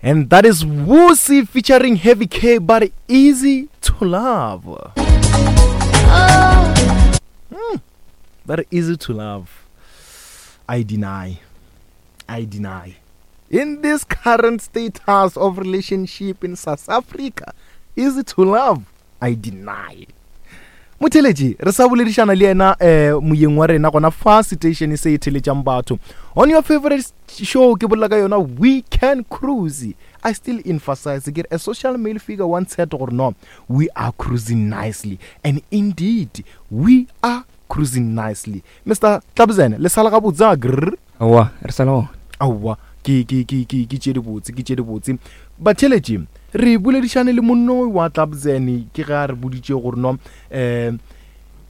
And that is Wusi featuring Heavy K, but easy to love. Mm, very easy to love. I deny. I deny. In this current status of relationship in South Africa, easy to love. I deny. Motheletši, re sa boledišana le yena um moyeng wa rena gona fa station se e theletšang batho. On your favorite show ke bolela ka yona We Can Cruise. I still emphasize ke re a social male figure once said gore no, we are cruising nicely. And indeed, we are cruising nicely. Mr. Tlabzene, le sala gabotse a grr? Aowa, re sa le gona. Aowa, ke, ke, ke, ke, ke tše dibotse, ke tše dibotse. Batheeletši, re boledišane le monno wa Tlabzene, ke ge a re boditše gore no, um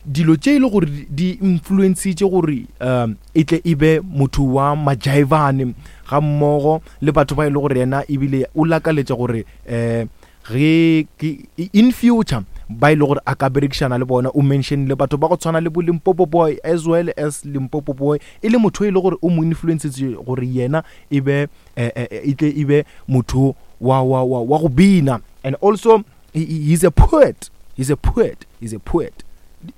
dilo tše e le gore di influencitše gore um e tle e be motho wa majaivane ga mmogo le batho ba e le gore yena ebile o lakaletša gore um ge ke in future ba e le gore a ka berekišana le bona o mentionile batho ba go tshwana le bo Limpopo Boy as well as Limpopo Boy e le motho e le gore o mo influencetse gore yena e be eh, eh, eh, e tle e be motho wa wa wa wa go bina and also he, he's a poet he's a poet he's a poet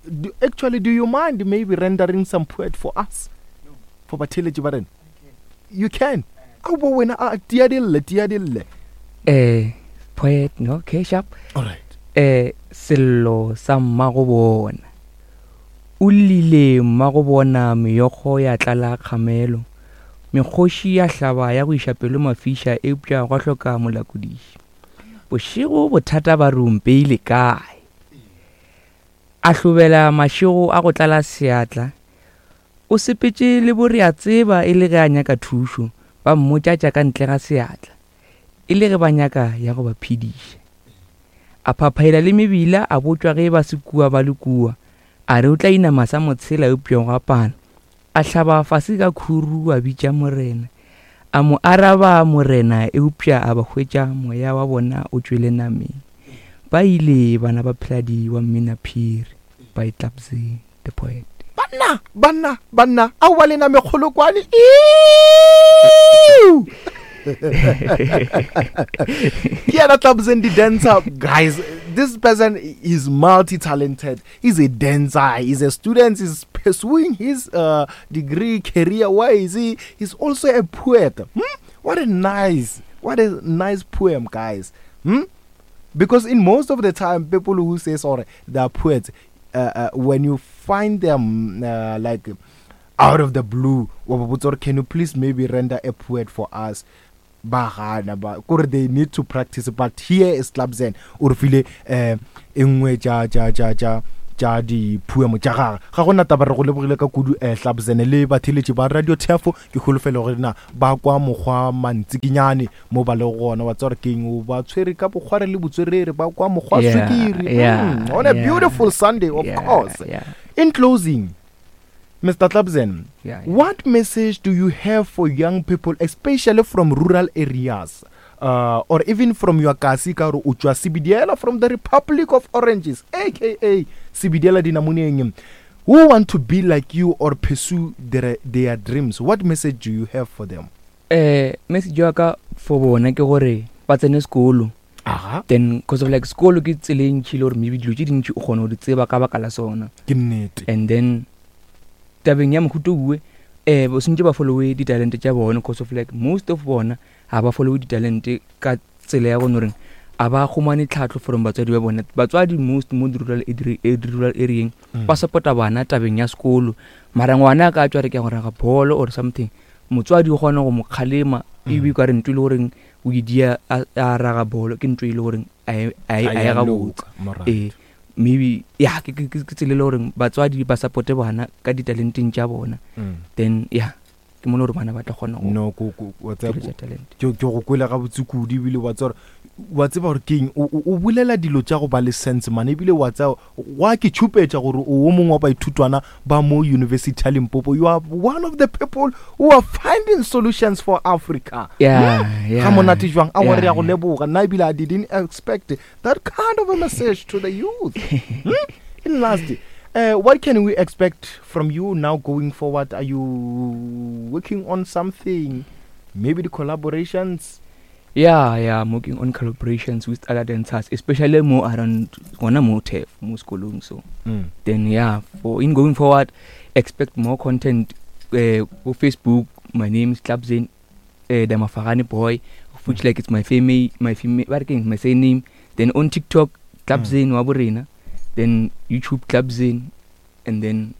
do, actually do you mind maybe rendering some poet for us for batheletši ba rena you can a bo wena a tia dille tia dille eh poet no okay sharp all right eh sello sa mmago bona o llile mmago bona meokgo ya tlala kgamelo mekgoši ya hlaba ya go iša pelo mafiša eupša gwa hloka molakodiši bošego bothata ba re o mpeile kae a hlobela mašego a go tlala seatla O sepetše le boreatseba e le ge a nyaka thušo, ba mmotša tša ka ntle ga seatla, e le ge ba nyaka ya go ba phediša. A phaphaila le mebila, a botšwa ge ba se kua ba le kua. A re o tla inama sa motshela eupša gwa pala. A hlaba fase ka khuru a bitša Morena. A mo araba Morena eupša a ba hwetša moya wa bona o tšwele nameng. Ba ile bana ba Pheladi wa Mmina Phiri by Tlabzee. The poet. Banna, banna, banna, aowa lena mekgolokwane. Ke yena Tlabzeng the dancer. Guys, this person is multi-talented. He's a dancer, he's a student, he's pursuing his uh, degree career wise. He, he's also a poet. Hmm? What a nice, what a nice poem, guys. Hmm? Because in most of the time, people who say sorry, they are poets. Uh, uh, when you find them uh, like out of the blue, wa ba botsa gore can you please maybe render a poet for us? ba gana ba kore they need to practice but here is Tlabzen o re file eh e nngwe tša tša tša tša tša dipoemo tša gage ga gona taba re go lebogile ka kudu eh Tlabzen le batheletši ba radio thefo ke holofelo gore na ba kwa mokgwa mantsikinyane mo ba lego gona wa tseba gore keng o ba tshwere ka bokgware le botswerere ba kwa mokgwa Yeah, swikiri yeah, mm, on a yeah. beautiful sunday of Yeah, course yeah. in closing mr Tlabzen, Yeah, yeah. what message do you have for young people especially from rural areas uh, or even from your kasi ka gore o tšwa sebidiela from the republic of oranges aka sebidiela dinamoneng who want to be like you or pursue their, their dreams what message do you have for them Eh, message wa ka for bona ke gore ba tsene sekolo Aha. then cause of like sekolo ke tsela e ntšhi le gore maybe dilo tše dintši o kgona go di tseba ka baka la sona ke nnete and then tabeng ya mohuto uwe eh ba sentse ba followe ditalente tša bona cause of like most of bona ga ba followe ditalente ka tsela ya gone goreng a ba humane tlhatlho from batswadi ba bona batswadi most mo di-rural rural areeng mm. ba supporta bana tabeng ya sekolo mara ngwana a ka tswa re ke ya go raga bolo or something Motswadi o kgona go mo kgalema ebe mm. ka re ntho e le goreng o e dia a raga bolo ke ntho e le goreng a e, e ya gabotse ee maybe ya ke tsela e le goreng batswadi ba supporte bana ka ditalenteng tša bona mm. then ya ke mone gore bana ba tla kgona no ke go kwele gabotse kudu ebile wa tseba wa tseba gore keng o bolela dilo tša go ba le sense mane ebile wa tseba Gwa ke tšhupetša gore o wo mongwe wa baithutwana ba mo University ya Limpopo. You are one of the people who are finding solutions for Africa. Yeah, hmm? yeah. Ga monate jwang? A wa re ya go leboga. Nna ebile I didn't expect that kind of a message to the youth. Hmm? In last, uh, what can we expect from you now going forward? Are you working on something? Maybe the collaborations? Yeah, yeah, I'm working on collaborations with other dancers, especially more around gona mo TEF, mo sekolong so. Then yeah, for in going forward, expect more content go Facebook. My name is Tlabzin, the Mafarane boy, which like it's my family, my family, what again, my surname. Then on TikTok, Tlabzin wa borena. Then YouTube Tlabzin, and then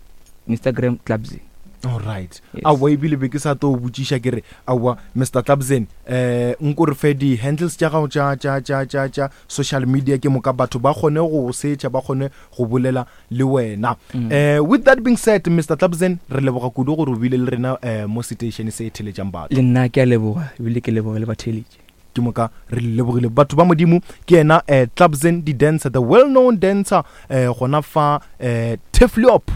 Instagram Tlabzin. All right. Yes. Aowa ebile be ke sa tlo botšiša ke re aowa Mr Tlabzin eh nko re fe di handles tša gago tša tša tša tša tša social media ke moka batho ba kgone go go setša ba kgone go bolela le wena. Eh with that being said Mr Tlabzin re leboga kudu gore o bile le rena eh mo station se e theletšang batho. Le nna ke a leboga ebile ke leboga le batheeletši. Ke moka re lebogile batho ba modimo ke yena eh, Tlabzin di dancer the well known dancer eh, gona fa eh, Tefliop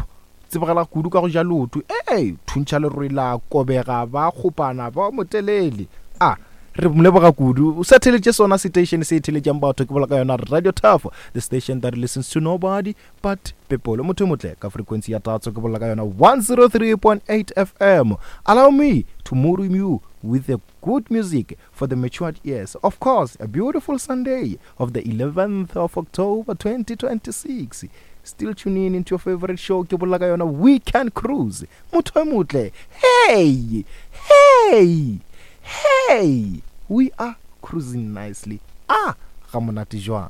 tsebagala kudu ka go ja leoto ee thuntšha lerole la kobega ba kgopana ba motelele a re mo leboga kudu o sa theletše sona station se e theletšang batho ke bola ka yona Radio Turf the station that listens to nobody but people motho e motle ka frequency ya tatso ke bolela ka yona 103.8 FM allow me to move you with the good music for the matured ears. Of course, a beautiful Sunday of the 11th of October 2026. Still tuning into your favorite show, ke bolela ka yona Weekend Cruise. Motho e motle. Hey! Hey! Hey! We are cruising nicely. Ah, ga monate jwang.